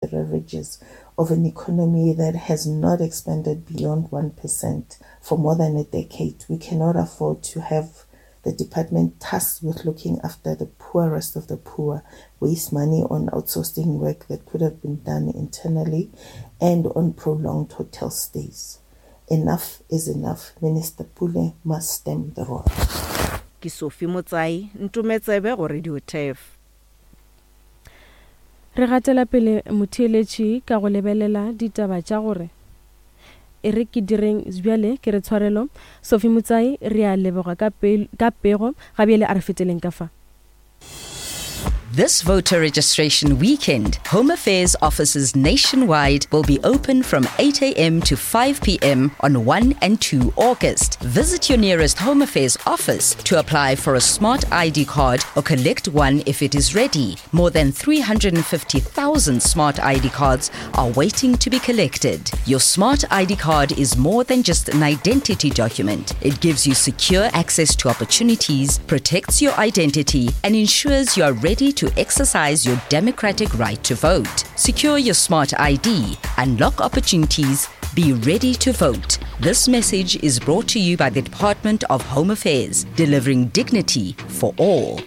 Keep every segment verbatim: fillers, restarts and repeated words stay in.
the ravages of an economy that has not expanded beyond one percent for more than a decade. We cannot afford to have the department tasked with looking after the poorest of the poor waste money on outsourcing work that could have been done internally and on prolonged hotel stays. Enough is enough. Minister Pule must stem the rot. Ke Sophie Motsai, Ntometsebe go Radio Turf. Re gatela pele motheeletši ka go lebelela ditaba tša gore e re ke direng bjale ke re tshwarelo. Sophie Motsai, re a leboga ka pe-, ka pego. Ga bjale a re feteleng ka fa. This voter registration weekend, Home Affairs offices nationwide will be open from eight A M to five P M on one and two August. Visit your nearest Home Affairs office to apply for a smart I D card or collect one if it is ready. More than three hundred and fifty thousand smart I D cards are waiting to be collected. Your smart I D card is more than just an identity document. It gives you secure access to opportunities, protects your identity, and ensures you are ready to exercise your democratic right to vote. Secure your smart I D, unlock opportunities, be ready to vote. This message is brought to you by the Department of Home Affairs, delivering dignity for all.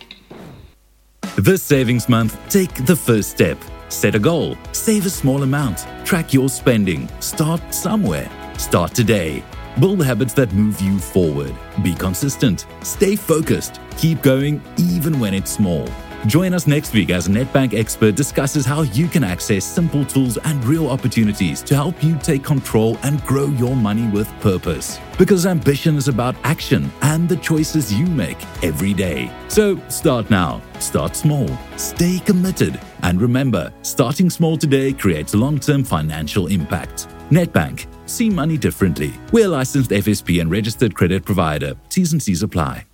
This savings month, take the first step. Set a goal, save a small amount, track your spending, start somewhere. Start today. Build habits that move you forward. Be consistent, stay focused, keep going even when it's small. Join us next week as Nedbank expert discusses how you can access simple tools and real opportunities to help you take control and grow your money with purpose. Because ambition is about action and the choices you make every day. So start now, start small, stay committed, and remember, starting small today creates long-term financial impact. Nedbank, see money differently. We're a licensed F S P and registered credit provider. T's and C's apply.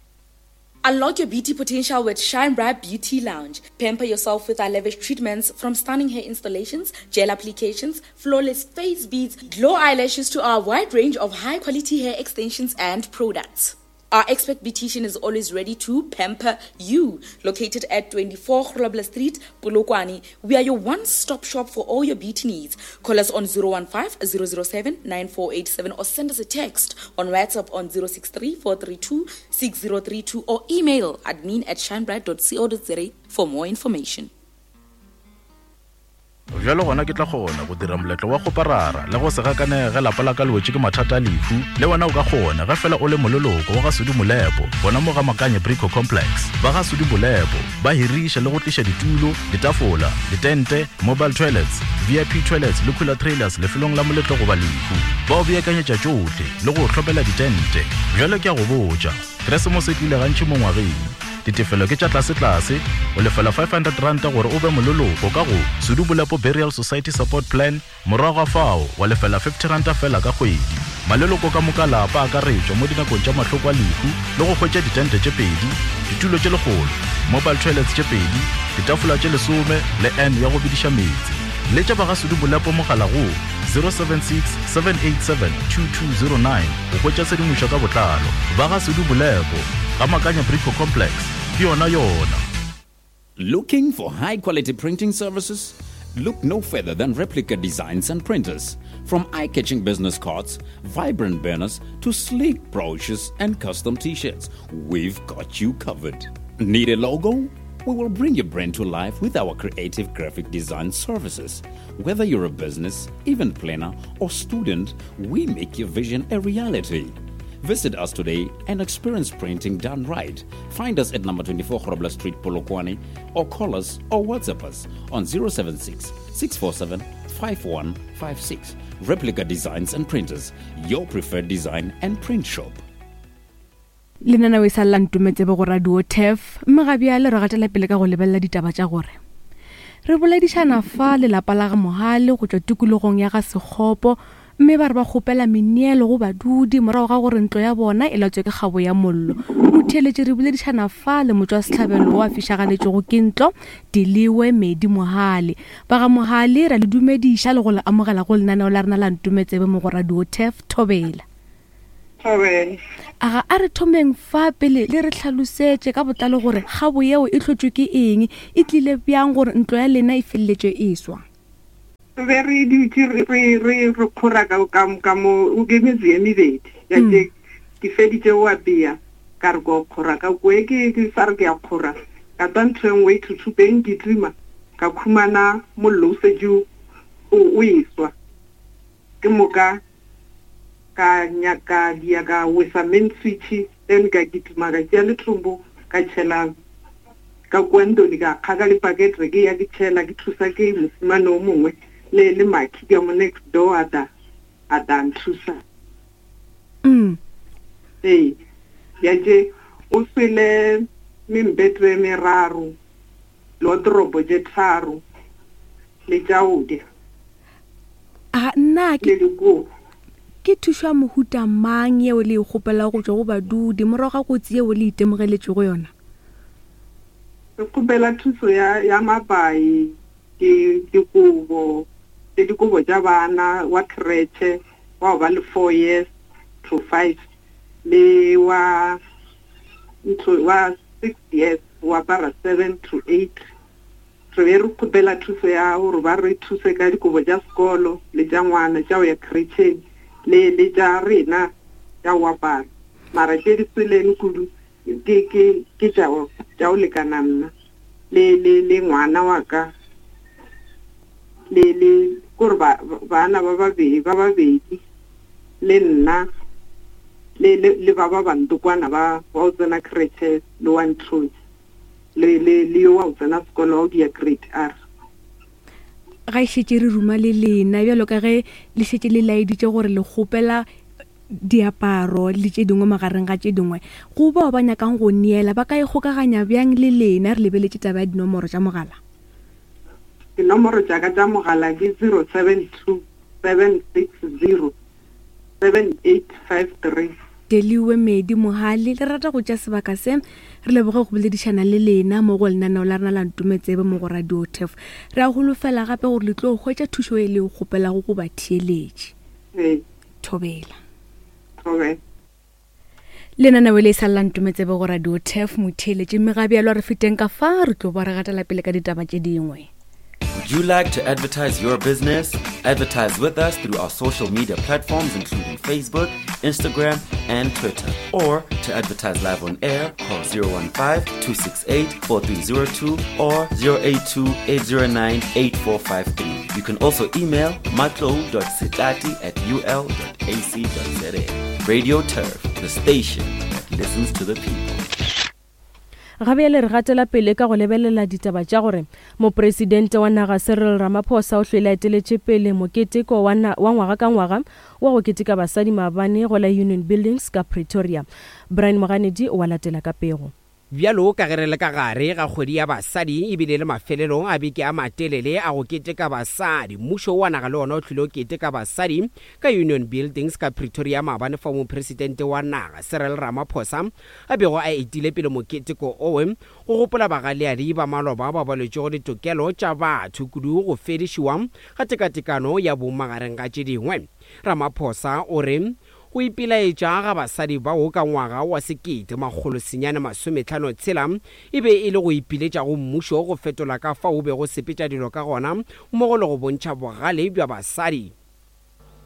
Unlock your beauty potential with Shine Bright Beauty Lounge. Pamper yourself with our lavish treatments, from stunning hair installations, gel applications, flawless face beads, glow eyelashes to our wide range of high-quality hair extensions and products. Our expert beautician is always ready to pamper you. Located at twenty-four Grobler Street, Polokwane, we are your one-stop shop for all your beauty needs. Call us on zero one five, zero zero seven, nine four eight seven or send us a text on WhatsApp on zero six three, four three two, six zero three two or email admin at shinebright dot co dot za for more information. Bjalo gona ke tla kgona go dira moletlo wa go parara le go se gakanege ge lapa la ka le wetše ke mathata a lehu. Le wena o ka kgona ge fela o le moleloko wa ga Sudi Molepo, gona mo ga Makanye Brico Complex. Ba ga Sudi Molepo ba hiriša le go tliša ditulo, ditafola, ditente, mobile toilets, V I P toilets le cooler trailers lefelong la moletlo goba lehu. Ba o beakanyetša tšohle le go hlopela ditente. Bjalo ke a go botša, Keresemose e tlile gantši mo ngwageng. Ditefelo ke tša tlase-tlase, o lefela five hundred rand gore o be moleloko ka go Sudi Molepo Burial Society Support Plan, morago ga fao wa lefela fifty rand fela ka kgwedi. Maleloko ka moka lapa a akaretšwa mo dinakong tša mahloko a lehu le go hwetša ditente tše pedi, ditulo tše lekgolo, mobile toilets tše pedi, ditafola tše lesome le N ya go bediša meetse. Letša ba ga Sudi Molepo mogala go zero seven six, seven eight seven, two two zero nine go hwetša tshedimošo ka botlalo. Ba ga Sudi Molepo, ga Makanya Brico Complex, ke yona yona. Looking for high-quality printing services? Look no further than Replica Designs and Printers. From eye-catching business cards, vibrant banners, to sleek brochures and custom t-shirts, we've got you covered. Need a logo? We will bring your brand to life with our creative graphic design services. Whether you're a business, event planner, or student, we make your vision a reality. Visit us today and experience printing done right. Find us at number twenty-four Grobler Street, Polokwane, or call us or WhatsApp us on zero seven six, six four seven, five one five six. Replica Designs and Printers, your preferred design and print shop. Lenaneo e sa lla Ntometsebe go Radio Turf, mme ga bjale re gatela pele ka go lebelela ditaba tša gore re boledišana fa lelapa la ga Mohale go tšwa tikologong ya ga Sekgopo, mme ba re ba kgopela meneelo go badudi morago ga gore ntlo ya bona e latswe ke kgabo ya mollo. Motheeletši re boledišana fa le motšwasehlabelo wa fišagaletšego ke ntlo, Diliwe Medi Mohale. Ba ga Mohale ra le dumediša le go le amogela go lenaneo la rena la Ntometsebe mo go Radio Turf. Thobela. Thobela. Aga a re thomeng fa pele le re hlalosetše ka botlalo gore kgabo yeo e hlotšwe ke eng, e tlile bjang gore ntlo ya lena e feleletše e swa. Re be re dutše re re re re kgora ka ka ka mo o ke metse ye mebedi. Ya ke ke feditše go apea ka re ko kgora ka kwe ke ke sa re ke ya kgora. Ka twa ntho e nngwe e thuthupeng ke tima ka khumana mollo o setse o o eswa. Ke moka ka nyaka dia ka wesa main switch then ka kitima ka tšea letrombo ka tšhela ka kua ntlong ka kgaka le pakete ke ya ke tšhela ke thusa ke mosimane o mongwe le le Maki ka mo next door a ta a ta nthusa. Mm. Ee, ya tše o swele membetho e meraro le wardrobe tše tharo le tša go ja. A nna ke le dikobo. Ke thušo ya mohuta mang yeo le e kgopelago go tšwa go badudi morago ga kotsi yeo le itemogeletšego yona? Re kgopela thuso ya ya mapai, ke dikobo, le dikobo tša bana wa creche wa go ba le four years to five le wa ntho wa six years wa apara seven to eight. Re be re kgopela thuso ya gore ba re thuse ka dikobo tša sekolo le tša ngwana tša go ya creche le le tša rena tša go apara. Mara tše di sweleng kudu ke ke ke tša go tša go lekana nna le le le ngwana wa ka le le kore ba bana ba babedi ba babedi le nna le le le ba ba bantokwana ba ba o tsena creche le wa ntlong le le le yo wa o tsena sekolo wa o dia grade R. Ga e šetše re ruma le lena bjalo ka ge le šetše le laeditše gore le kgopela diaparo le tše dingwe magareng ga tše dingwe, go bao ba nyakang go neela ba ka ikgokaganya bjang le lena? Re lebeletše taba ya dinomoro tša mogala. Dinomoro tša ka tša mogala ke zero seven two seven six zero seven eight five three. Deliwe Medi Mohale, le rata go tša sebaka se re leboge go boledišana le lena mo go lenaneo la rena la Ntometsebe mo go Radio Turf. Re a holofela gape gore le tlo hwetša thušo e le kgopelago go batheeletši. Ee. Thobela. Thobela. Lenaneo le sa la Ntometsebe go Radio Turf motheeletši, mme ga bjalo re feteng ka fa re tlo ba re gatela pele ka ditaba tše dingwe. Would you like to advertise your business? Advertise with us through our social media platforms including Facebook, Instagram, and Twitter. Or to advertise live on air, call zero one five, two six eight, four three zero two or zero eight two, eight zero nine, eight four five three. You can also email matlo dot sitati at u l dot a c dot z a. Radio Turf, the station that listens to the people. Ga bjale re gatela pele ka go lebelela ditaba tša gore mopresidente wa naga Cyril Ramaphosa o hlwele a eteletše pele moketeko wa wa ngwaga ka ngwaga wa go keteka basadi maabane go la Union Buildings ka Pretoria. Brian Moganedi o a latela ka pego. Bjalo ka ge re le ka gare ga kgwedi ya basadi ebile le mafelelong a beke a matelele a go keteka basadi, mmušo wa naga le ona o tlile o keteka basadi ka Union Buildings ka Pretoria maabane fao mopresidente wa naga Cyril Ramaphosa a bego a etile pele moketeko owe go gopola bagaleadi ba maloba ba ba lwetšego ditokelo tša batho kudu go fedišiwa ga tekatekano ya bong magareng ga tše dingwe. Ramaphosa o re go ipelaetša ga basadi bao ka ngwaga wa sekete makgolo senyane masometlhano tshela e be e le go ipiletša go mmušo go fetola ka fao o bego sepetša dilo ka gona mmogo le go bontšha bogale bja basadi.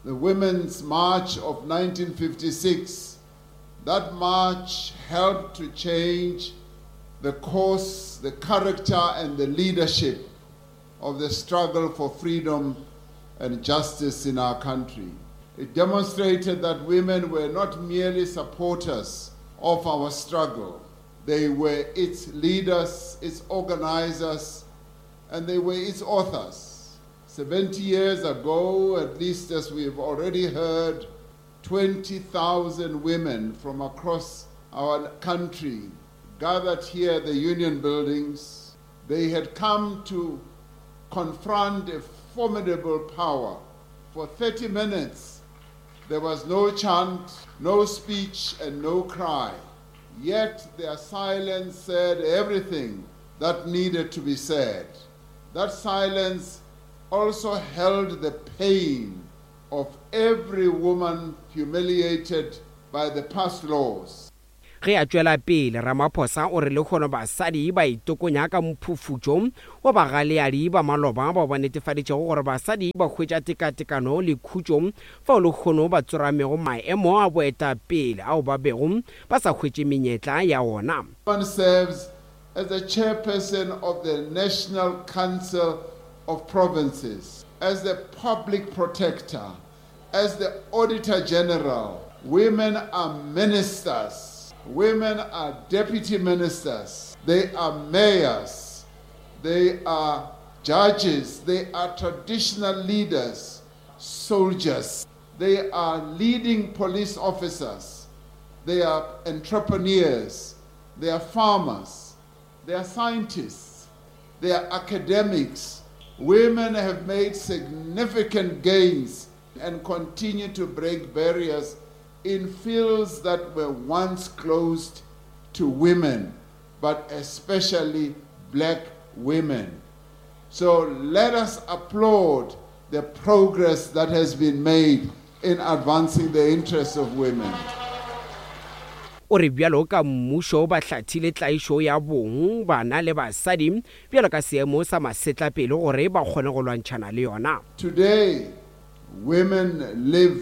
The Women's March of nineteen fifty-six, that march helped to change the course, the character and the leadership of the struggle for freedom and justice in our country. It demonstrated that women were not merely supporters of our struggle. They were its leaders, its organizers, and they were its authors. seventy years ago, at least as we've already heard, twenty thousand women from across our country gathered here at the Union Buildings. They had come to confront a formidable power. For thirty minutes, there was no chant, no speech, and no cry. Yet their silence said everything that needed to be said. That silence also held the pain of every woman humiliated by the past laws. Ge a tšwela pele, Ramaphosa o re lehono basadi ba itokonya ka mphufutšo wa bagaleadi ba maloba bao ba netefaditšego gore basadi ba hwetša tekatekano le khutšo fao lehono ba tsoramego maemo a boetapele ao ba bego ba sa hwetše menyetla ya ona. One serves as the chairperson of the National Council of Provinces, as the public protector, as the Auditor General. Women are ministers. Women are deputy ministers. They are mayors. They are judges. They are traditional leaders, soldiers. They are leading police officers. They are entrepreneurs. They are farmers. They are scientists. They are academics. Women have made significant gains and continue to break barriers in fields that were once closed to women, but especially black women. So let us applaud the progress that has been made in advancing the interests of women. O re bjalo ka mmušo ba hlathile tlaišo ya bong, bana le basadi bjalo ka seemo sa masetlapelo gore ba kgone go lwantšhana le yona. Today, women live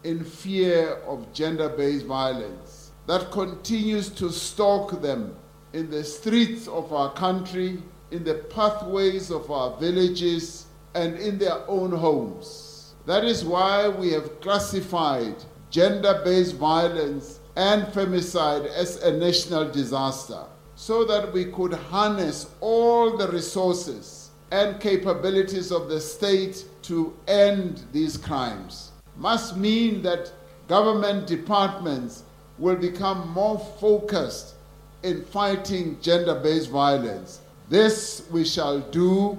in fear of gender-based violence that continues to stalk them in the streets of our country, in the pathways of our villages, and in their own homes. That is why we have classified gender-based violence and femicide as a national disaster, so that we could harness all the resources and capabilities of the state to end these crimes. Must mean that government departments will become more focused in fighting gender-based violence. This we shall do,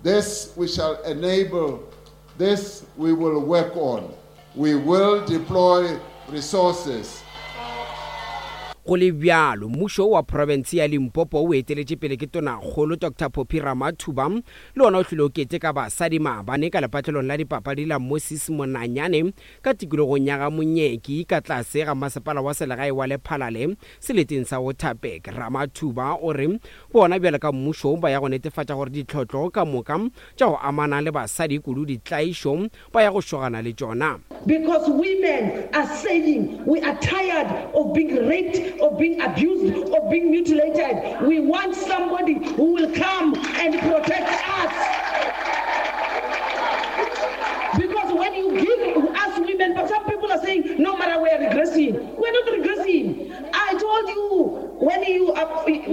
this we shall enable, this we will work on. We will deploy resources. Go le bjalo, mmušo wa profense ya Limpopo o eteletše pele ke tonakgolo Doctor Phophi Ramathuba le ona o hlile o keteka basadi maabane ka lepatlelong la dipapadi la Moses Monanyane ka tikologong ya ga Monyeki ka tlase ga masepala wa selegae wa Lephalale seleteng sa Waterberg. Ramathuba o re bona bjalo ka mmušo ba ya go netefatša gore ditlhotlo ka moka tša go amana le basadi kudu ditlaišo ba ya go šogana le tšona. Because women are saying we are tired of being raped, of being abused, of being mutilated. We want somebody who will come and protect us. Because when you give us women, but some people are saying, no matter, we are regressing. We're not regressing. I told you when you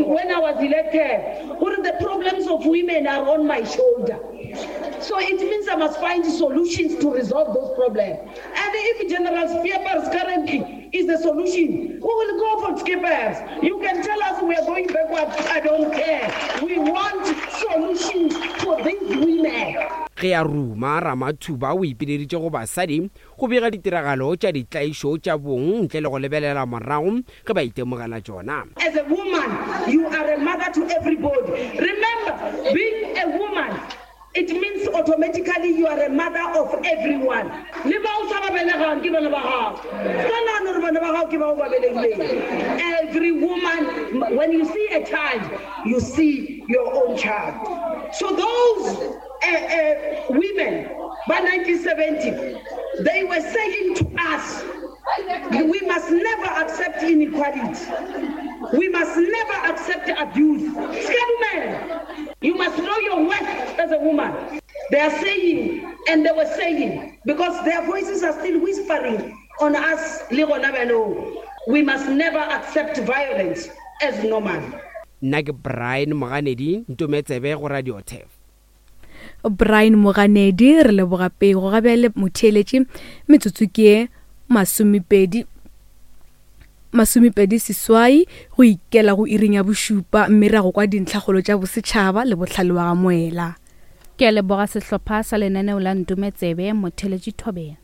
when I was elected, all the problems of women are on my shoulder. So it means I must find solutions to resolve those problems. And if General Scheepers currently is the solution, we will go for Scheepers. You can tell us we are going backwards. I don't care. We want solutions for these women. Ge a ruma, Ramathuba o ipileditše go basadi go bega ditiragalo tša ditlaišo tša bong ntle le go lebelela morago ge ba itemogela tšona. As a woman, you are a mother to everybody. Remember, being a woman, it means automatically you are a mother of everyone. Le ba o sa ba belegang ke bana ba gago. Ka nahana hore bana ba gago ke bao ba belegileng. Every woman, when you see a child, you see your own child. So those uh, uh, women by nineteen seventy, they were saying to us, we must never accept inequality. We must never accept abuse. Scaduman, you must know your worth as a woman. They are saying, and they were saying, because their voices are still whispering on us, we must never accept violence as normal. Nna ke Brian Moganedi, Ntometsebe go Radio T E F. Brian Moganedi, re leboga pego ga bjale motheeletši metsotso ke masomepedi masomepedi seswai go ikela go iring ya bošupa, mme ra go kwa dintlhakgolo tša bosetšhaba le bohlale wa ga Moela. Ke a leboga sehlopha sa lenaneo la Ntometsebe motheeletši Thobela.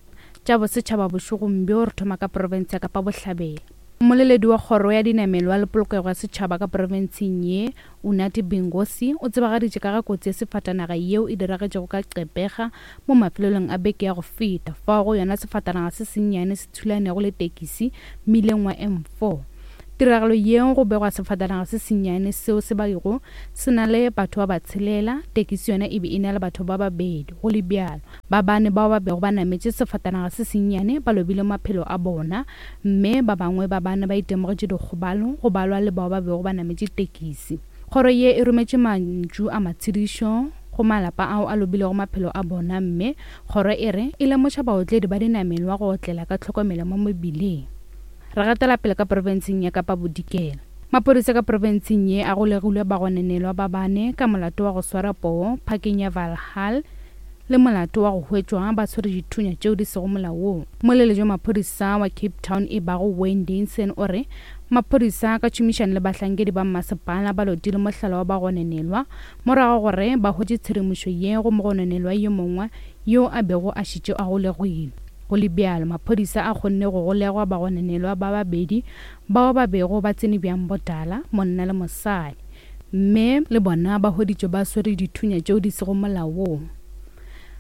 Tša bosetšhaba bošegong bjo re thoma ka profense ya Kapa Bohlabela. Mmoleledi wa kgoro ya dinamelwa le polokego ya setšhaba ka profenseng ye, Unati Bingosi, o tsebagaditše ka ga kotsi ya sefatanaga yeo e diragetšego ka Qepega mo mafelelong a beke ya go feta, fao go yona sefatanaga se sennyane se thulanego le tekisi mmileng wa M four. Tiragalo yeo go begwa sefatanaga se sennyane seo se bego se na le batho ba ba tshelela, tekisi yona e be e na le batho ba babedi. Go le bjalo, ba bane bao ba bego ba nametše sefatanaga se sennyane ba lobile maphelo a bona, mme ba bangwe ba bane ba itemogetše dikgobalo go balwa le bao ba bego ba nametše tekisi. Kgoro ye e rometše mantšu a matshedišo go malapa ao a lobilego maphelo a bona, mme kgoro e re e lemoša baotledi ba dinamelwa go otlela ka tlhokomelo mo mebileng. Re gatela pele ka profenseng ya Kapa Bodikela. Maphodisa ka profenseng ye a golegilwe bagononelwa ba bane ka molato wa go swara poo phakeng ya Valhall le molato wa go hwetšwa ba tshwere dithunya tšeo di sego molaong. Mmoleledi wa maphodisa wa Cape Town e bago Wayne Dinson o re maphodisa ka tšhomišano le bahlankedi ba mmasepala ba lotile mohlala wa bagononelwa morago gore ba hwetše tshedimošo ye go mogononelwa yo mongwe yo a bego a šetše a golegilwe. Go le bjalo, maphodisa a kgonne go golegwa bagononelwa ba babedi bao ba bego ba tsene bjang botala, monna le mosadi, mme le bona ba hweditšwe ba swere dithunya tšeo di sego molaong.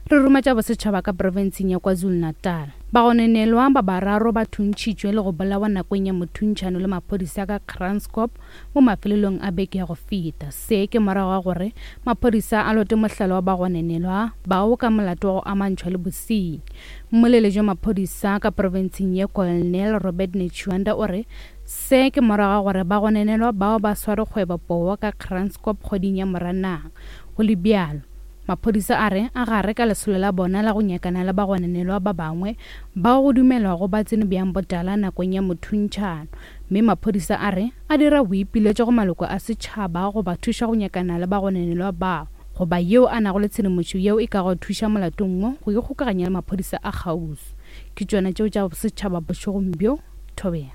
Re roma tša bosetšhaba ka profenseng ya KwaZulu-Natal. Bagononelwa ba bararo ba thuntšhitšwe le go bolawa nakong ya mothuntšhano le maphodisa ka Kranskop mo mafelelong a beke ya go feta. Se ke morago ga gore maphodisa a lote mohlala wa bagononelwa bao ka molato wa go amantšhwa le bosenyi. Mmoleledi wa maphodisa ka profenseng ye Colonel Robert Netshiunda o re se ke morago ga gore bagononelwa bao ba sware kgwebo poo ka Kranskop kgweding ya Moranang. Go le bjalo, maphodisa a re a gare ka lesolo la bona la go nyakana le bagononelwa ba bangwe bao go dumelwago ba tsene bjang botala nakong ya mothuntšhano, mme maphodisa a re a dira boipiletšo go maloko a setšhaba go ba thuša go nyakana le bagononelwa bao goba yeo a nago le tshedimošo yeo e ka go thuša molatong wo go ikgokaganya le maphodisa a kgauswi. Ke tšona tšeo tša setšhaba bošegong bjo. Thobela.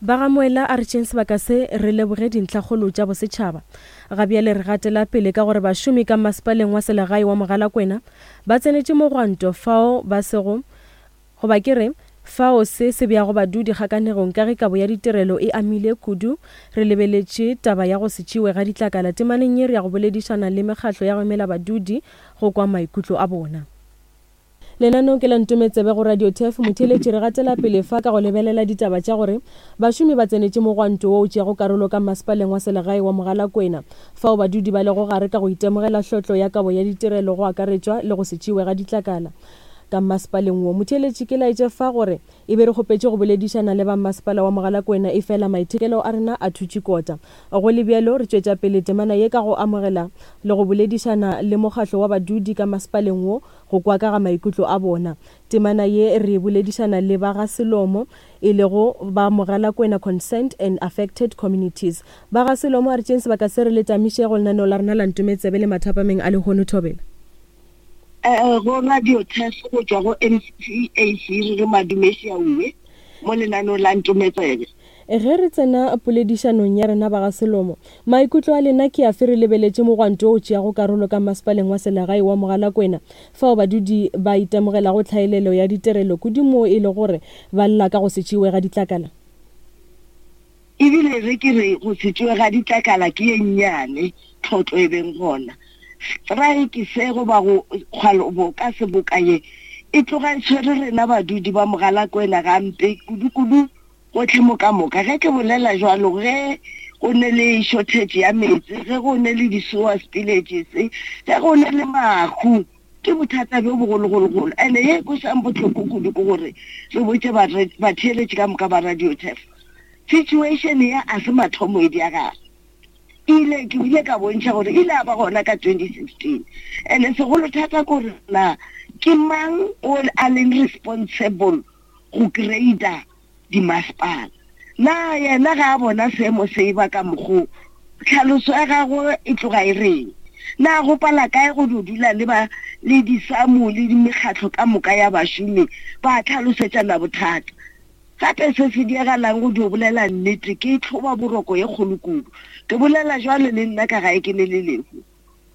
Ba ga Moela a re tšeng sebaka se re leboge dintlhakgolo tša bosetšhaba. Ga bjale re gatela pele ka gore bašomi ka masepaleng wa selegae wa Mogalakwena ba tsenetše mogwanto fao ba sego goba ke re fao se se beago badudi kgakanegong ka ge kabo ya ditirelo e amile kudu. Re lebeletše taba ya go se tšewe ga ditlakala temaneng ye re ya go boledišana le mekgatlo ya go emela badudi go kwa maikutlo a bona. Lenaneo ke la Ntometsebe go Radio T F. Motheeletši re gatela pele fa ka go lebelela ditaba tša gore bašomi ba tsenetše mogwanto wo o tšeago karolo ka masepaleng wa selegae wa Mogalakwena fao badudi ba lego gare ka go itemogela hlotlo ya kabo ya ditirelo go akaretšwa le go se tšewe ga ditlakala ka masepaleng wo. Motheeletši ke laetše fa gore e be re kgopetše go boledišana le ba masepala wa Mogalakwena, efela maitekelo a rena a thutše kota. Go le bjalo, re tšwetša pele temana ye ka go amogela le go boledišana le mokgatlo wa badudi ka masepaleng wo go kwa ka ga maikutlo a bona. Temana ye re boledišana le ba ga Selomo e lego ba Mogalakwena Concerned and Affected Communities. Ba ga Selomo a re tšeng sebaka se re le tamiše go lenaneo la rena la Ntometsebe le mathapameng a lehono. Thobela. Eh go Radio T F go tšwa go M C A C re madumeši a uwe mo lenaneo la Ntometsebe. Ge re tsena poledišanong ya rena ba ga Selomo, maikutlo a lena ke afe re lebeletše mogwanto o tšeago karolo ka masepaleng wa selegae wa Mogalakwena fao badudi ba itemogelago tlhaelelo ya ditirelo kudu mo e le gore ba lla ka go se tšewe ga ditlakala? Ebile re ke re go se tšewe ga ditlakala ke ye nnyane tlhotlo e beng gona. Strike se goba go kgwalo ka seboka ye e tloga e tshwere rena badudi ba Mogalakwena gampe kudu-kudu gotlhe mo ka moka. Ge ke bolela jwalo, ge go ne le shortage ya metsi, ge go ne le di-sewer spillages, ge go ne le mahu, ke bothata bjo bogologologolo. Ene ye kwešang bohloko kudu ke gore re botše batheeletši ka moka ba Radio T F, situation ya a se mathomo e diagala. Ile ke ile ka bontšha gore ile a ba gona ka twenty sixteen. Ene segolo thata ke gore na ke mang o a leng responsible go grade-a dimasepala. Na yena ga a bona seemo se ba ka mokgo, tlhaloso ya gagwe e tloga e reng? Na go pala kae go dula le ba le disamu le mekgatlo ka moka ya bašomi ba tlhalosetšana bothata? Gape se se diagalang go dio bolela nnete ke tlhoba boroko ye kgolo kudu. Ke bolela jwale le nna ka gae ke ne le lehu.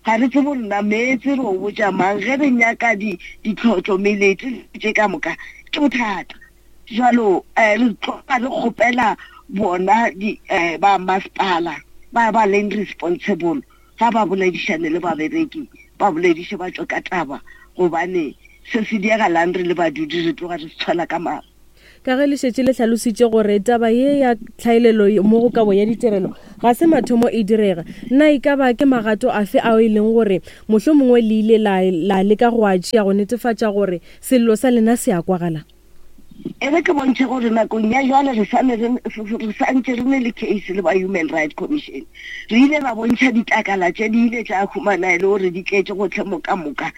Ga re tsebe nna meetse re o botša mang ge re nyaka di ditlhotlo melete tše ka moka ke bothata. Jwalo re tloga re kgopela bona di ba masepala ba ba leng responsible ga ba boledišane le babereki, ba bolediše ba tšwe ka taba, gobane se se diagalang re le badudi re tloga re se tshwela ka mare. Ka ge le šetše le hlalositše gore taba ye ya tlhaelelo mo go kabo ya ditirelo ga se mathomo e direga, na e ka ba ke magato afe ao e leng gore mohlomongwe le ile la, la leka go a tšea go netefatša gore sello sa lena se a kwagala? E re ke bontšhe gore nakong ya jwale re sa re santše re ne le case le ba Human Rights Commission. Re ile ra bontšha ditlakala tše di ile tša humana e le gore di tletše gotlhe mo ka moka.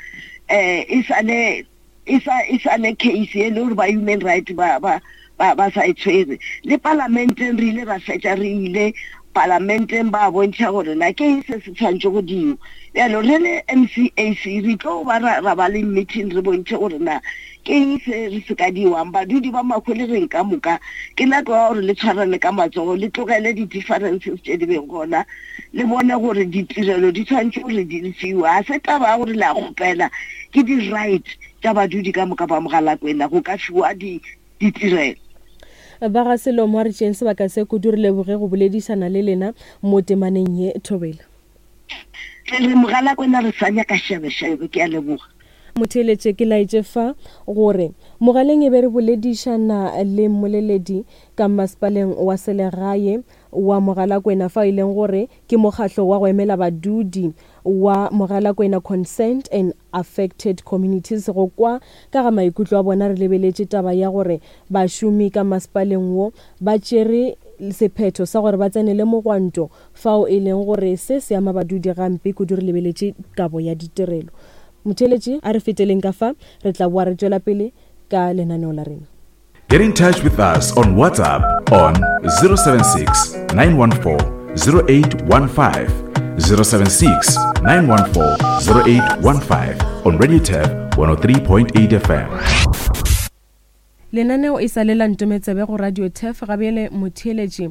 Um e sale e sa e sale case e le gore ba Human Rights ba ba ba ba sa e tshwere. Le palamenteng re ile ra fetša re ile palamenteng ba bontšha gore na ke eng se se tshwanetse go diwa. Bjalo re le M C A C re tlo ba ra ba le meeting re bontšhe gore na ke eng se re se ka diwang. Badudi ba Mahwelereng ka moka ke nako ya gore le tshwarane ka matsogo, le tlogele di-differences tše di beng gona, le bone gore ditirelo di tshwanetse gore di fiwe. Ga se taba ya gore le a kgopela, ke di-right tša badudi ka moka ba Mogalakwena go ka fiwa ditirelo. Ba ga Selomo, a re tšeeng sebaka se kudu re leboge go boledišana le lena mo temaneng ye. Thobela. Re re Mogalakwena re sa nyaka šebešebe, ke a leboga. Motheeletše ke laetše fa gore mogaleng e be re boledišana le mmoleledi ka masepaleng wa selegae wa Mogalakwena, fa e leng gore ke mokgahlo wa go emela badudi wa Mogalakwena Concerned and Affected Communities. Go kwa ka ga maikutlo a bona re lebeletše taba ya gore bašomi ka masepaleng wo ba tšere sephetho sa gore ba tsenele mogwanto, fao e leng gore se se ama badudi gampe kudu. Re lebeletše kabo ya ditirelo. Motheeletši, a re feteleng ka fa, re tla boa re tšwela pele ka lenaneo la rena. Get in touch with us on WhatsApp on zero seven six, nine one four, zero eight one five, zero seven six, nine one four, zero eight one five on Radio Turf one oh three point eight F M. Lenaneo e sa le la Ntometsebe go Radio Turf. Gabjale motheeletši,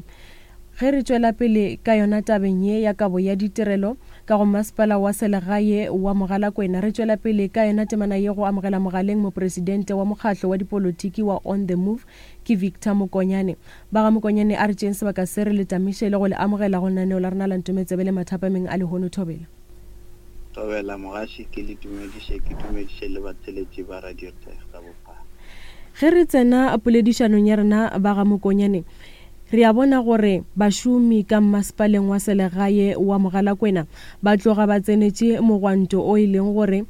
ge re tšwela pele ka yona tabeng ye ya kabo ya ditirelo ka go masepala wa selegae wa Mogalakwena, re tšwela pele ka yona temana ye go amogela mogaleng mopresidente wa mokgahlo wa dipolotiki wa On The Move ke Victor Mokonyane. Ba ga Mokonyane, a re tšeeng sebaka se re le tamiše le go le amogela go lenaneo la rena la Ntometsebe le mathapameng a lehono. Thobela. Thobela mogaši, ke le dumediše, ke dumediše le batheeletši ba Radio Turf ka bophara. Ge re tsena poledišanong ya rena ba ga Mokonyane, re a bona gore bašomi ka masepaleng wa selegae wa Mogalakwena ba tloga ba tsenetše mogwanto o e leng gore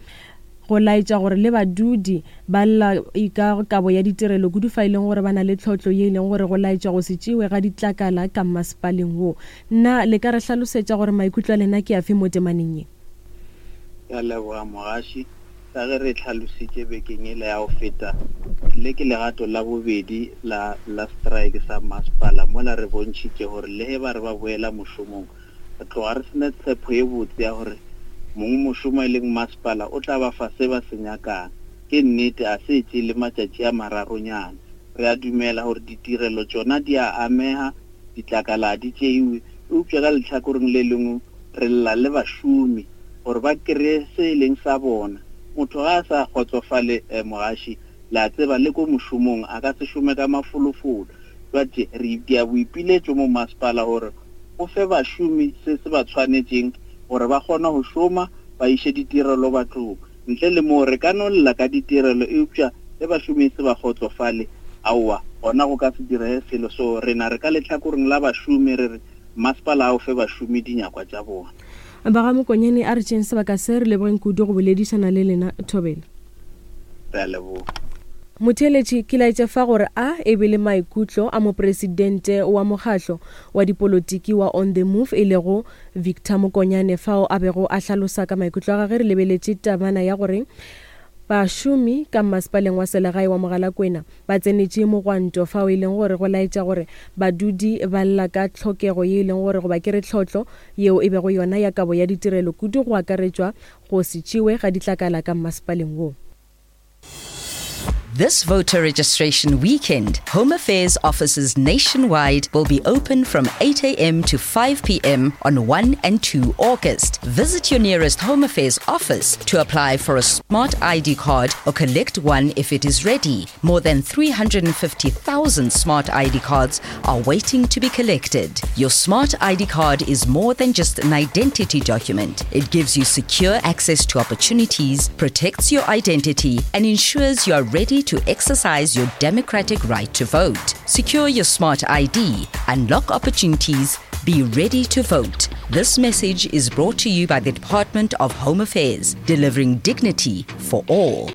go laetša gore le badudi ba lla ka kabo ya ditirelo kudu, fa e leng gore ba na le tlhotlo ye e leng gore go laetša go se tšewe ga ditlakala ka masepaleng wo. Nna le ka re hlalosetša gore maikutlo a lena ke afe mo temaneng ye? Ke a leboga mogaši. Ka ge re hlalositše bekeng ele ya go feta, le ke legato la bobedi la la strike sa masepala, mola re bontšhitše gore le ge ba re ba boela mošomong, re tloga re sena tshepo ye botse ya gore mong mošomo e leng masepala o tla ba fa se ba se nyakang. Ke nnete a se tšee le matšatši a mararonyana. Re a dumela gore ditirelo tšona di a ameha, ditlakala di tšeiwe, eupša ka lehlakoreng le lengwe re lla le bašomi gore ba kry-e se e leng sa bona. Motho ga a sa kgotsofale mogaši, le a tseba le ko mošomong a ka se šome ka mafolofolo. Jwale re itia boipiletšo mo masepala gore o fe bašomi se se ba tshwanetšeng gore ba kgone go šoma, ba iše ditirelo bathong. Ntle le moo re ka no lla ka ditirelo, eupša ge bašomi se ba kgotsofale, aowa, gona go ka se direge selo. So rena re ka lehlakoreng la bašomi re re masepala a o fe bašomi dinyakwa tša bona. Ba ga Mokonyane, a re tšeeng sebaka se re lebogeng kudu go boledišana le lena. Thobela. Re a leboga. Motheeletši, ke laetša fa gore a e be le maikutlo a mopresidente wa mokgahlo wa dipolotiki wa On The Move e lego Victor Mokonyane, fao a bego a hlalosa ka maikutlo a gagwe. Re lebeletše tabana ya gore bašomi ka masepaleng wa selegae wa Mogalakwena ba tsenetše mogwanto, fao e leng gore go laetša gore badudi ba lla ka tlhokego ye e leng gore goba ke re tlhotlo yeo e bego yona ya kabo ya ditirelo kudu, go akaretšwa go se tšewe ga ditlakala ka masepaleng wo. This voter registration weekend, Home Affairs offices nationwide will be open from eight a m to five p m on one and two August. Visit your nearest Home Affairs office to apply for a smart I D card or collect one if it is ready. More than three hundred fifty thousand smart I D cards are waiting to be collected. Your smart I D card is more than just an identity document. It gives you secure access to opportunities, protects your identity, and ensures you are ready ready to exercise your democratic right to vote. Secure your smart I D, unlock opportunities, be ready to vote. This message is brought to you by the Department of Home Affairs, delivering dignity for all.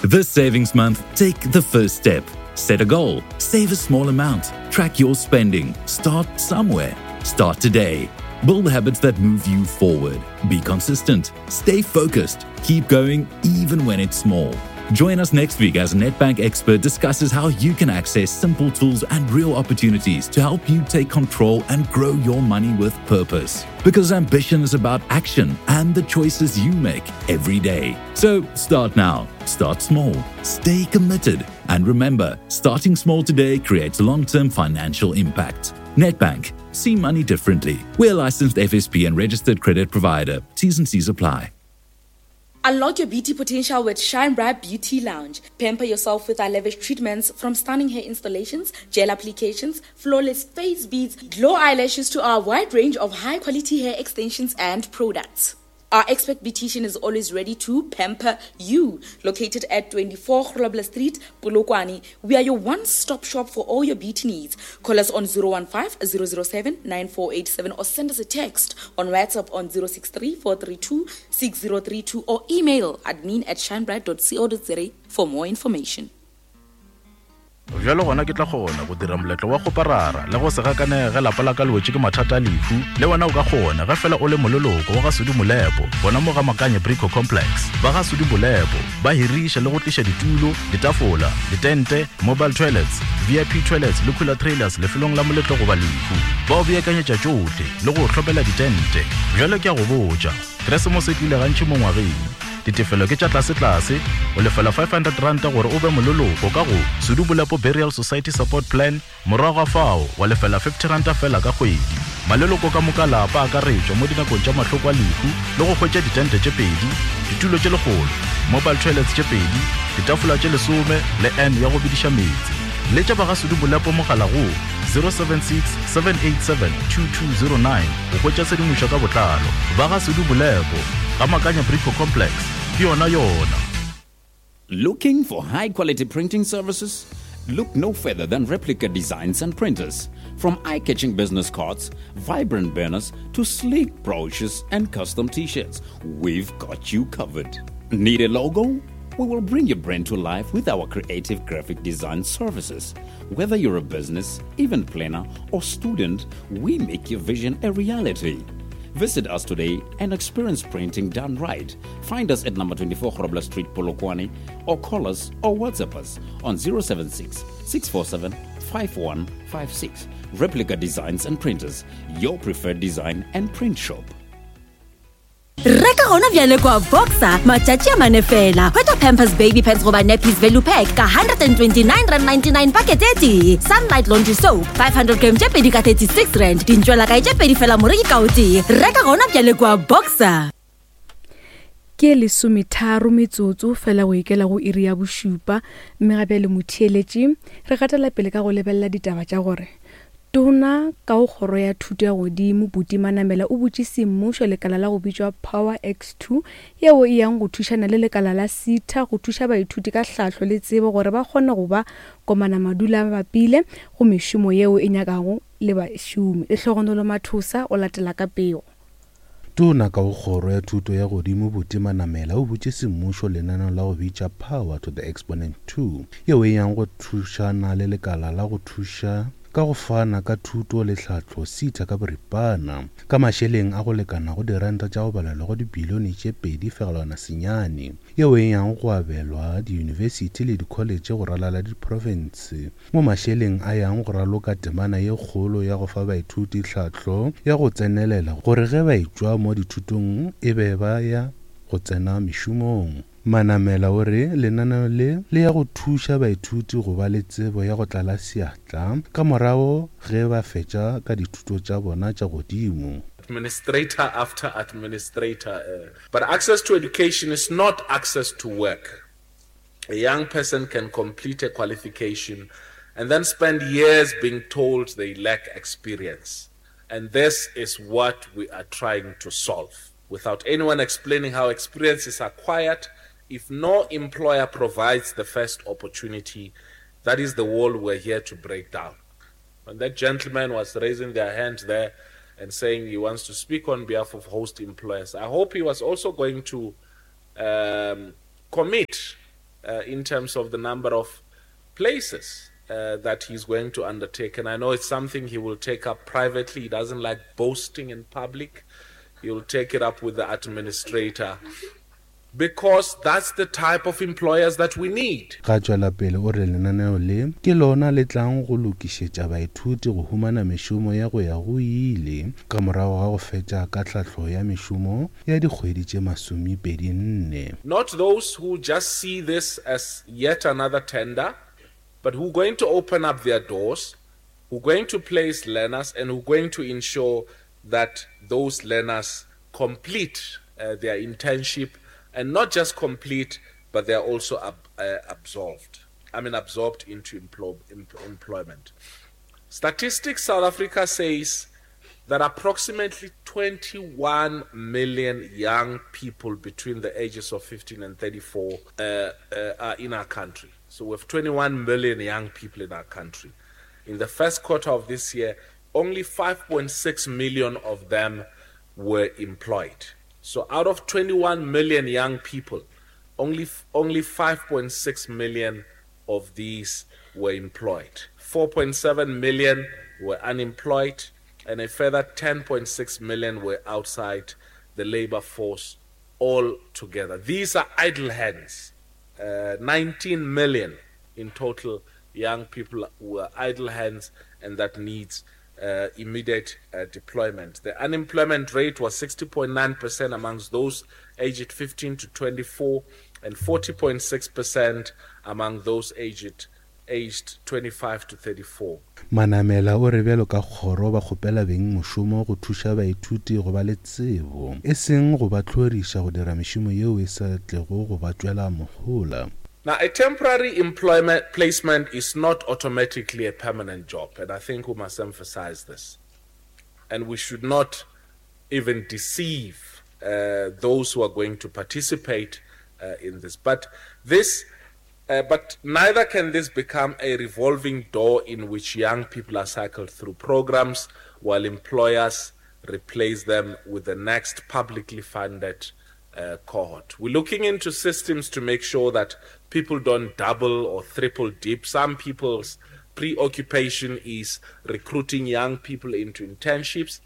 This Savings Month, take the first step. Set a goal, save a small amount, track your spending, start somewhere. Start today. Build habits that move you forward. Be consistent. Stay focused. Keep going even when it's small. Join us next week as Nedbank Expert discusses how you can access simple tools and real opportunities to help you take control and grow your money with purpose. Because ambition is about action and the choices you make every day. So start now. Start small. Stay committed. And remember, starting small today creates long-term financial impact. Nedbank. See money differently. We're a licensed F S P and registered credit provider. T's and C's apply. Unlock your beauty potential with Shine Bright Beauty Lounge. Pamper yourself with our lavish treatments, from stunning hair installations, gel applications, flawless face beads, glow eyelashes to our wide range of high-quality hair extensions and products. Our expert beautician is always ready to pamper you. Located at twenty-four Grobler Street, Polokwane, we are your one-stop shop for all your beauty needs. Call us on zero one five, zero zero seven, nine four eight seven or send us a text on WhatsApp on zero six three, four three two, six zero three two or email admin at shinebright dot co dot za for more information. Bjalo gona ke tla kgona go dira moletlo wa go parara le go se gakanege lapa la ka le wetše ke mathata a lehu. Le wena o ka kgona ge fela o le moleloko wa ga Sudi Molepo, bona mo ga Makanye Brico Complex. Ba ga Sudi Molepo ba hiriša le go tliša ditulo, ditafola, ditente, mobile toilets, V I P toilets le cooler trailers lefelong la moletlo goba lehu. Ba o beakanyetša tšohle le go hlopela ditente. Bjalo ke a go botša, Keresemose e tlile gantši mo ngwageng. Ditefelo ke tša tlase-tlase, o lefela five hundred rand gore o be moleloko ka go Sudi Molepo Burial Society Support Plan, morago ga fao wa lefela fifty rand fela ka kgwedi. Maleloko ka moka lapa a akaretšwa mo dinakong tša mahloko a lehu le go hwetša ditente tše pedi, ditulo tše lekgolo, mobile toilets tše pedi, ditafola tše lesome le N ya go bediša meetse. Letša ba ga Sudi Molepo mogala go zero seven six, seven eight seven, two two zero nine go hwetša tshedimošo ka botlalo. Ba ga Sudi Molepo, ga Makanya Brico Complex, ke yona yona. Looking for high-quality printing services? Look no further than Replica Designs and Printers. From eye-catching business cards, vibrant banners, to sleek brochures and custom t-shirts, we've got you covered. Need a logo? We will bring your brand to life with our creative graphic design services. Whether you're a business, event planner, or student, we make your vision a reality. Visit us today and experience printing done right. Find us at number twenty-four Grobler Street, Polokwane, or call us or WhatsApp us on zero seven six, six four seven, five one five six. Replica Designs and Printers, your preferred design and print shop. Reka gona bjale kwa Boxer matšatši a mane fela. Hwetša Pampers Baby Pants goba Nappies Value Pack ka one hundred twenty-nine rand ninety-nine packet e tee. Sunlight Laundry Soap five hundred gram tše pedi ka thirty-six rand. Dintšwela kae tše pedi fela moreki ka o tee. Reka gona bjale kwa Boxer. Ke lesometharo metsotso fela go ikela go iri ya bošupa, mme gape le motheeletši re gatela pele ka go lebelela ditaba tša gore Tona ka go kgoro ya thuto ya godimo Buti Manamela o butše semmušo lekala la go bitšwa Power X two yeo e yang go thušana le lekala la SETA go thuša baithuti ka hlahlo le tsebo gore ba kgone go ba komana madula bapile go mešomo yeo e nyakago le bašomi. Lehlogonolo Mathosa o latela ka pego. Tona ka go kgoro ya thuto ya godimo Buti Manamela o butše semmušo lenaneo la go bitša Power to the Exponent two yeo e yang go thušana le lekala la go thuša ka go fana ka thuto le tlhahlo SETA ka boripana ka mašeleng a go lekana go diranta tša go balelwa go dibilione tše pedi fegelwana senyane yeo e yang go abelwa diyunibesithi le dikholetše go ralala diprofense mo mašeleng a yang go raloka temana ye kgolo ya go fa baithuti tlhahlo ya go tsenelela gore ge ba etšwa mo dithutong e be ba ya go tsena mešomong. Manamela o re lenaneo le le ya go thuša baithuti go ba le tsebo ya go tlala seatla ka morago ge ba fetša ka dithuto tša bona tša godimo. Administrator after administrator. Uh, but access to education is not access to work. A young person can complete a qualification and then spend years being told they lack experience. And this is what we are trying to solve. Without anyone explaining how experience is acquired, If no employer provides the first opportunity, that is the wall we're here to break down. When that gentleman was raising their hand there and saying he wants to speak on behalf of host employers, I hope he was also going to um, commit uh, in terms of the number of places uh, that he's going to undertake. And I know it's something he will take up privately. He doesn't like boasting in public. He'll take it up with the administrator because that's the type of employers that we need. Ga tšwela pele o re lenaneo le ke lona le tlang go lokišetša baithuti go humana mešomo ya go ya go ile ka morago ga go fetša ka tlhahlo ya mešomo ya dikgwedi tše masomepedi nne. Not those who just see this as yet another tender, but who are going to open up their doors, who are going to place learners, and who are going to ensure that those learners complete uh, their internship, and not just complete, but they are also ab- uh, absolved. I mean, absorbed into emplo- em- employment. Statistics South Africa says that approximately twenty-one million young people between the ages of fifteen and thirty-four uh, uh, are in our country. So we have twenty-one million young people in our country. In the first quarter of this year, only five point six million of them were employed. So out of twenty-one million young people, only, only five point six million of these were employed. four point seven million were unemployed, and a further ten point six million were outside the labor force altogether. These are idle hands. Uh, nineteen million in total young people who are idle hands, and that needs uh, immediate uh, deployment. The unemployment rate was sixty point nine percent amongst those aged fifteen to twenty-four and forty point six percent among those aged, aged twenty-five to thirty-four. Manamela o re bjalo ka kgoro ba kgopela beng mošomo go thuša baithuti go ba le tsebo, e seng go ba tlhoriša go dira mešomo yeo e sa tlego go ba tšwela mohola. Now, a temporary employment placement is not automatically a permanent job, and I think we must emphasize this. And we should not even deceive, uh, those who are going to participate, uh, in this. But this, uh, but neither can this become a revolving door in which young people are cycled through programs while employers replace them with the next publicly funded, uh, cohort. We're looking into systems to make sure that people don't double or triple dip. Some people's preoccupation is recruiting young people into internships,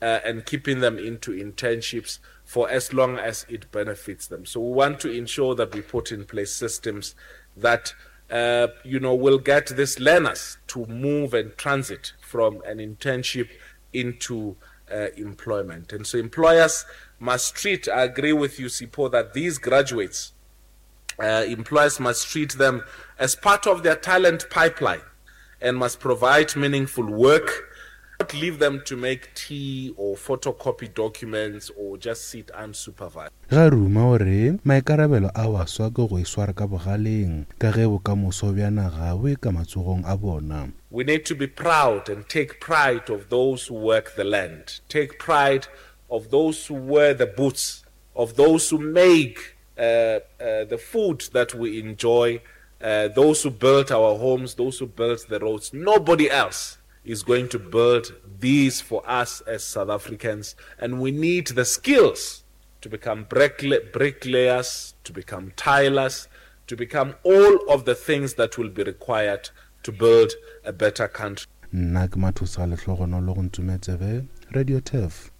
uh, and keeping them into internships for as long as it benefits them. So we want to ensure that we put in place systems that, uh, you know, will get these learners to move and transit from an internship into, uh, employment. And so employers must treat, I agree with you, Sipho, that these graduates, uh, employers must treat them as part of their talent pipeline and must provide meaningful work, not leave them to make tea or photocopy documents or just sit unsupervised. Ga ruma o re maikarabelo a baswa ke go iswara ka bogaleng ka ge bokamoso bja naga bo e ka matsogong a bona. We need to be proud and take pride of those who work the land, take pride of those who wear the boots, of those who make, uh, uh, the food that we enjoy, uh, those who built our homes, those who built the roads. Nobody else is going to build these for us as South Africans, and we need the skills to become brickla-, bricklayers, to become tilers, to become all of the things that will be required to build a better country. Nna ke Mathosa Lehlogonolo go Ntumetsebe, Radio Turf.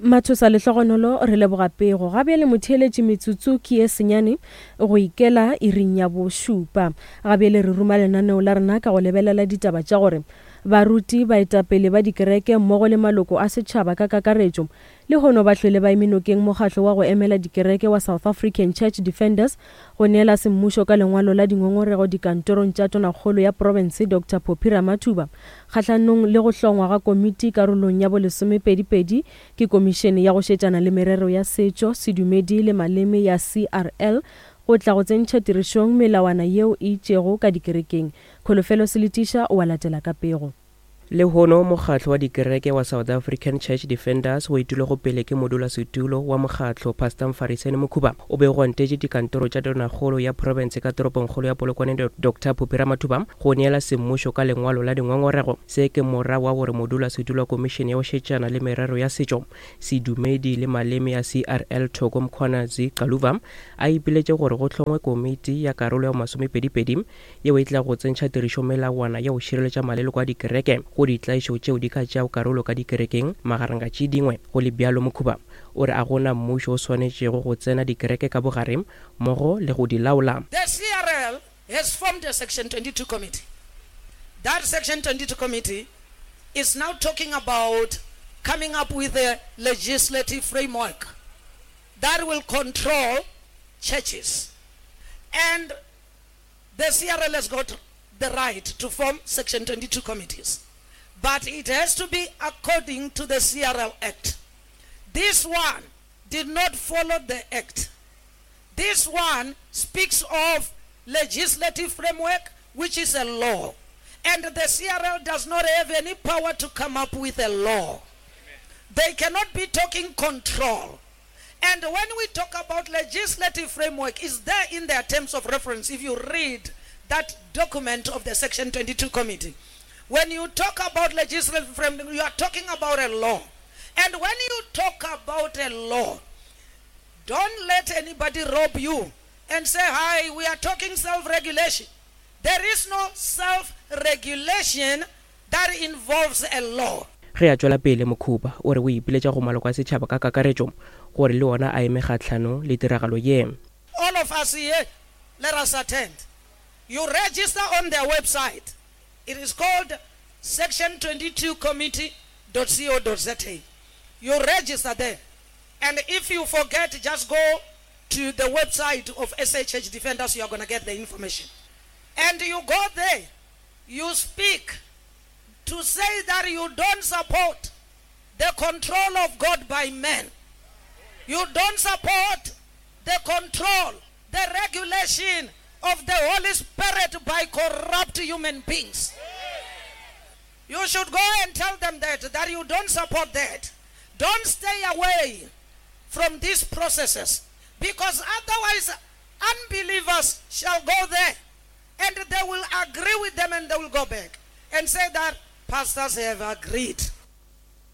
Mathosa Lehlogonolo, re leboga pego. Ga bjale motheeletši metsotso ke ye senyane go ikela iring ya bošupa. Ga bjale re ruma lenaneo la rena ka go lebelela ditaba tša gore baruti, baetapele ba dikereke mmogo le maloko a setšhaba ka kakaretšo lehono ba hlwele ba eme nokeng mokgatlo wa go emela dikereke wa South African Church Defenders go neela semmušo ka lengwalo la dingongorego dikantorong tša tonakgolo ya profense Doctor Phophi Ramathuba kgahlanong le go hlongwa ga komiti karolong ya bolesomepedipedi ke komišene ya go šetšana le merero ya setšo, sedumedi le maleme ya C R L go tla go tsentšha tirišong melawana yeo e itšego ka dikerekeng. Kholofelo Seletiša o a latela ka pego. Lehono mokgatlo wa dikereke wa South African Church Defenders o etilwego pele ke modulasetulo wa mokgatlo Pastor Mfariseni Mokhuba o be o gwantetše dikantoro tša tonakgolo ya profense ka toropongkgolo ya Polokwane Doctor Phophi Ramathuba go neela semmušo ka lengwalo la dingongorego. Se ke morago wa gore modulasetulo wa komišene ya go šetšana le merero ya setšo, sedumedi le maleme ya C R L Thoko Mkhwanazi Xaluva a ipiletše gore go hlongwe komiti ya karolo ya masomepedipedi yeo e tla go tsentšha tirišo melawana ya go šireletša maleloko a dikereke go ditlaišo tšeo di ka tšeago karolo ka dikerekeng magareng ga tše dingwe. Go le bjalo, Mokhuba o re a gona mmušo o swanetšego go tsena dikereke ka bogare mmogo le go di laola. The C R L has formed a Section twenty-two committee. That Section twenty-two committee is now talking about coming up with a legislative framework that will control churches. And the C R L has got the right to form Section twenty-two committees. But it has to be according to the C R L Act. This one did not follow the Act. This one speaks of legislative framework, which is a law. And the C R L does not have any power to come up with a law. They cannot be talking control. And when we talk about legislative framework, it's there in their terms of reference. If you read that document of the Section twenty-two committee, when you talk about legislative framework, you are talking about a law. And when you talk about a law, don't let anybody rob you and say, hi, we are talking self-regulation. There is no self-regulation that involves a law. Ge a tšwela pele, Mokhuba o re o ipiletša go maloko a setšhaba ka kakaretšo gore le ona a eme kgahlano le tiragalo ye. All of us here, let us attend. You register on their website. It is called section twenty-two committee dot co dot za. You register there. And if you forget, just go to the website of S A Church Defenders. You are gonna get the information. And you go there, you speak to say that you don't support the control of God by men. You don't support the control, the regulation of the Holy Spirit by corrupt human beings. You should go and tell them that, that you don't support that. Don't stay away from these processes, because otherwise unbelievers shall go there and they will agree with them and they will go back and say that pastors have agreed.